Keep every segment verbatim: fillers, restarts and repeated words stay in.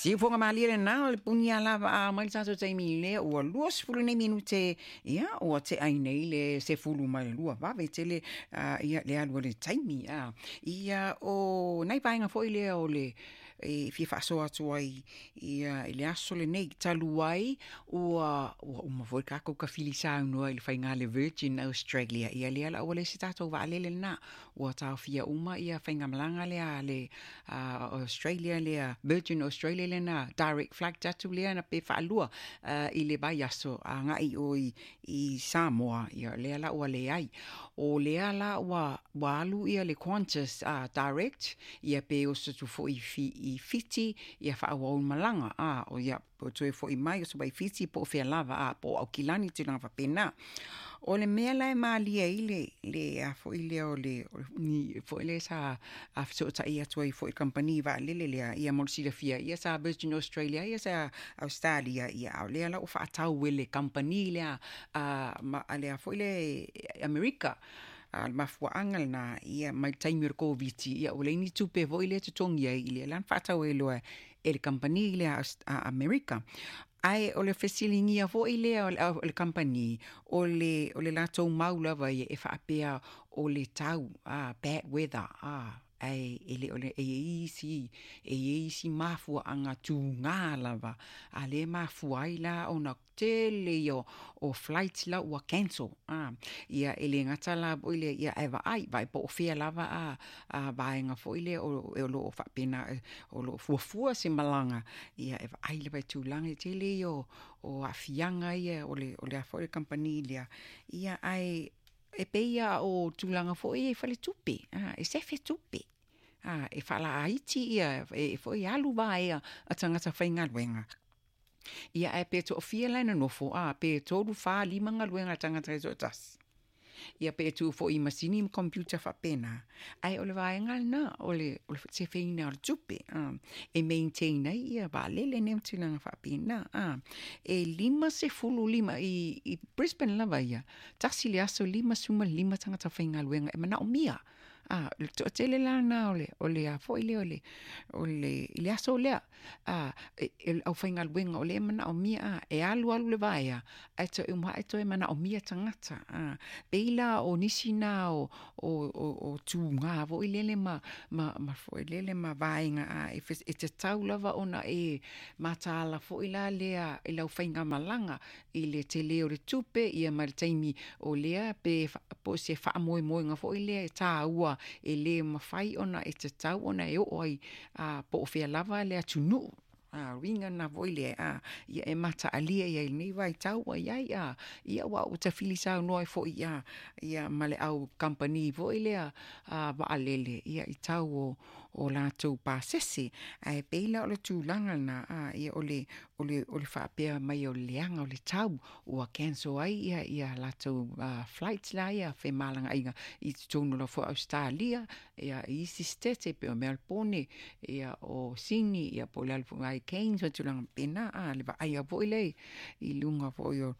Siufoga malie lena o le punia lava a mai le tatou taimi lea ua luasefulu nei minute, ia ua te'a ai nei le sefulu ma le lua vave tele ia le alu a le taimi a. Ia o nai vaega foi lea o le e fia faasoa atu ai ia i le aso lenei talu ai ua ua uma foi tatou tafili saunoa i le faiga le Virgin Australia. Ia lea la ua le se tatou vaalele lena ua taofia uma ia faigamalaga lea le Australia lea Virgin Australia lena direct flight atu lea na pe faalua i le vaiaso agai o i, i Samoa. Ia lea la ua leai o lea la ua ua alu ia le Qantas uh, direct ia pe oso atu foi fi, i Fiti ia faaauau malaga a o ia po toe fo'i mai o so mai Fiti po o fea lava a po o Aukilani tulaga faapena. O le mea la e malie ai le le a foi lea o le ni foi le sa a fesootai atu ai foi kamupani vaalele lea ia mo le silafia ia sa Virgin Australia ia sa Australia ia a o lea la ua faatau e le kamupani lea a ma lea foi le Amerika. A le mafuaaga lena ia mai le taimi o le Koviti ia ua leai ni tupe foi lea totogi ai i lea la na faatau ai loa e le kamupani lea a Amerika. Ae o le fesiligia foi lea o le kamupani o le o le latou mau lava ia e faapea o le tau a bad weather a ae e le o le e i isi e i isi mafuaaga tugā lava a lea mafua ai la ona tele ia o flights la ua cancel a. Ia e le gata la foi le ia e vaai vaai po o fea lava a a vaega foi lea o o loo faapena o loo fuafua se malaga ia e vaai lava i tulaga e tele ia o o aafiaga ia o le o le a foi le kamupani lea ia ae e pei ia o tulaga foi ia i faletupe a e sefe tupe a e faalaiti ia e foi alu vaea a tagata faigaluega ia ae pe toafia la e nonofo a pe tolu fa lima galuega a tagata e toatasi ia pe tu foi i masini ma computer faapena ae o le vaega lena o le o le sefeina o le tupe a e maintain ai ia vaalele nei ma tulaga faapena a. E lima sefulu lima i, i Brisbane lava ia tasi le aso lima suma lima tagata faigaluega e manaomia a le toatele la lena o le o le a foi lea o le o le i le aso lea a e, e aufaigaluega o lea e manaomia a e alu alu le vaea ae toe uma ae toe manaomia tagata a pei la o nisi na o o o, o tugā foi lele ma ma ma foi lele ma vaega a e, e tatau lava ona e mataala foi la lea i lau faigamalaga i le tele o le tupe ia ma le taimi o lea pe po se faamoemoega foi lea e tāua e lē mafai ona e tatau ona e oo ai a po o fea lava le atunuu a uiga na foi lea a ia e mataalia ia i lenei vaitau ua iai a ia ua ua tafili saunoa ai foi ia ia ma le au kamupani foi lea a vaalele ia i tau o o latou pasese ae pei la o le tulaga lena a ia o le o le o le faapea mai o le leaga o le tau ua cancel ai ia ia latou uh, flights la ia femalagaiga i totonu lava foi Australia ia i isi state e pei o Melbourne ia o Sydney ia po o le alu foi ai Cairns ma tulaga faapena a le vaaia foi lea i luga foi o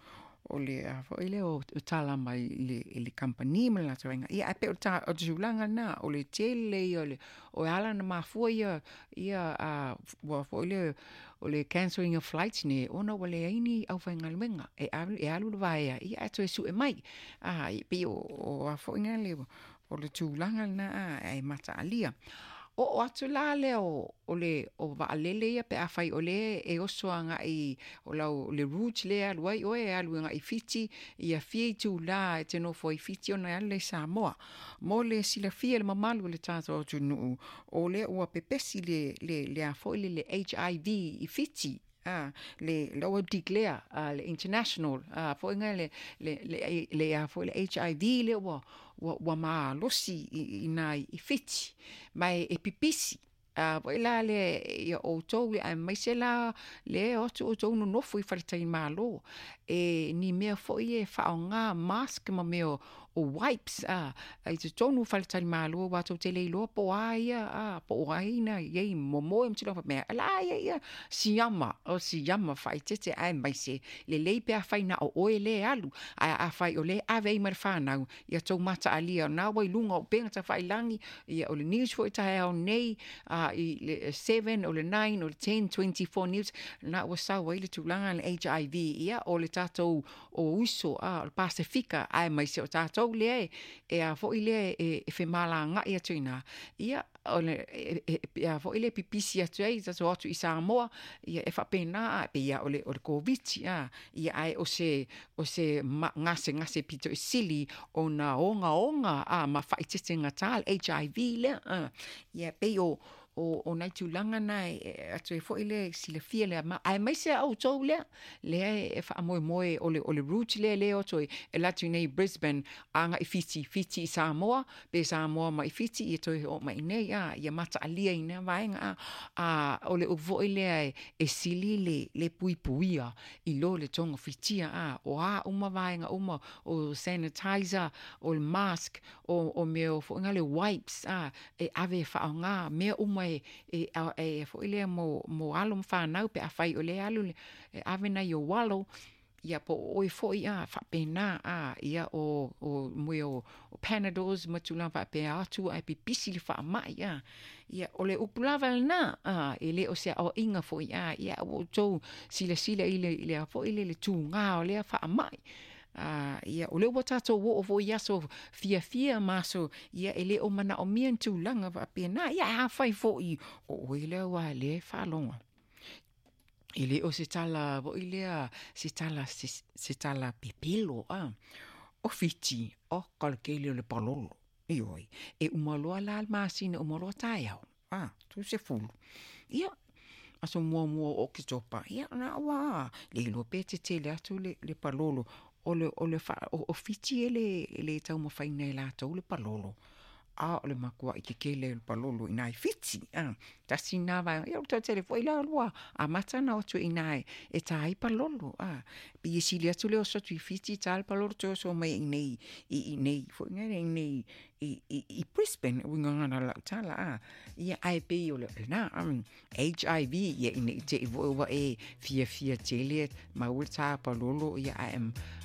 o le a foi lea o tala mai i le i le kamupani ma le latou aiga ia ae pei o le o le tulaga lena o le tele ia o le o e ala ona mafua ia ia a ua foi le o le cancelling of flights nei ona ua leai ni aufaigaluega e alu e alu le vaea ia ae toe sue mai a e pei o o a foi le o le tulaga lena a e mataalia. Oo atu la lea o o le o vaalele ia pe afai o le e oso agai o lau le route lea alu ai oe e alu agai Fiti ia fia itulā e te nofo ai Fiti ona e alu lea i Samoa. Mo le silafia le mamalu o le tatou atunuu o lea ua pepesi le le le a foi le le H I V i Fiti a le la ua declare a le international a foi le le le le a foi le H I V le ua ua ua malosi i i i Fiti mai e pipisi a foi la le ia outou aemaise la le o atu outou nonofo i faletalimalo e ni mea foi e faaaoga mask ma mea o wipes a i totonu o faletalimalo ua tou te le iloa po o a ia a po o ai na i ai momoe ma tulaga faapea la ia ia siama o siama faaeteete aemaise lelei pe afai na o oe lē alu ae afai o lē ave ai ma le fanau ia tou mataalia na ua i luga o upega tafailagi ia o le news foi taeao nei a i le seven o le nine o le ten twenty four news na ua sau ai le tulaga le H I V ia o le tatou o uso a o le Pasifika aemaise o tatou lea e a foi lea e, e femalaga'i atu ina ia o le e, e, a foi le pipisi atu ai tatou atu i Samoa ia e faapena a pe ia o le o le Koviti a ia ae o se o se gasegase pito i sili ona ogaoga a ma faaeteetegatā le H I V lea a ia pei o o o nai tulaga na e atu ai foi le silafia lea ma aemaise a outou lea lea e faamoemoe o le o le route lea lea o toe e alu atu nei Brisbane aga'i Fiti Fiti i Samoa pe Samoa mai Fiti ia toe oo mai nei a ia mataalia ina vaega a a o le upu foi lea e, e sili le le puipuia i lo le togafitia a o a uma vaega uma o sanitizer o le mask o o mea o fo'iga le wipes a e ave e faaaogā mea uma e e e foi lea mo mo alo ma fanau pe afai o le alu e ave nai o alo ia po o oe foi a faapena a ia o o mea o, o Panadols ma tulaga faapea atu ae pipisi le faama'i a ia o le upu lava lenā a e lē o se aoaʻiga foi a ia ua outou silasila i le i le a foi le le tugā o lea faama'i a ia o lea ua tatou oo foi i aso fiafia ma aso ia e lē o manaʻomia ni tulaga faapena ia afai foʻi o oe lea ua lē faalogo e lē o se tala foʻi lea se tala se, se tala pepelo a o Fiti o ka le kele o le palolo ioe e uma loa la le masina uma loa taeao a tu se fulu ia aso muamua o Oketopa ia na ua le iloa pe tetele atu le, le palolo o le o le fa, o, o Fiti e le le taumafaina e latou le palolo a o le makuaʻi kekele o le palolo inā i Fiti a tasi lena vaega ia o le toatele foi la lua amata ona o atu iinā e, e tā ai palolo a pei e sili atu le oso atu i Fiti tā le palolo toe oso mai iinei i inei foʻiga le inei i, i, i Brisbane uiga gana lau tala a ia ae pei o le lena um, H I V ia ina i teʻi foʻi ua e fiafia tele maua le tā palolo ia ae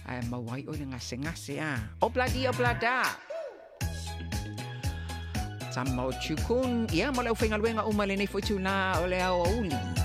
ae maua ai oe le gasegase a obladi oblada Tama o Chukun ia ma le aufaigaluega uma lenei foʻi tūlā o le aoauli.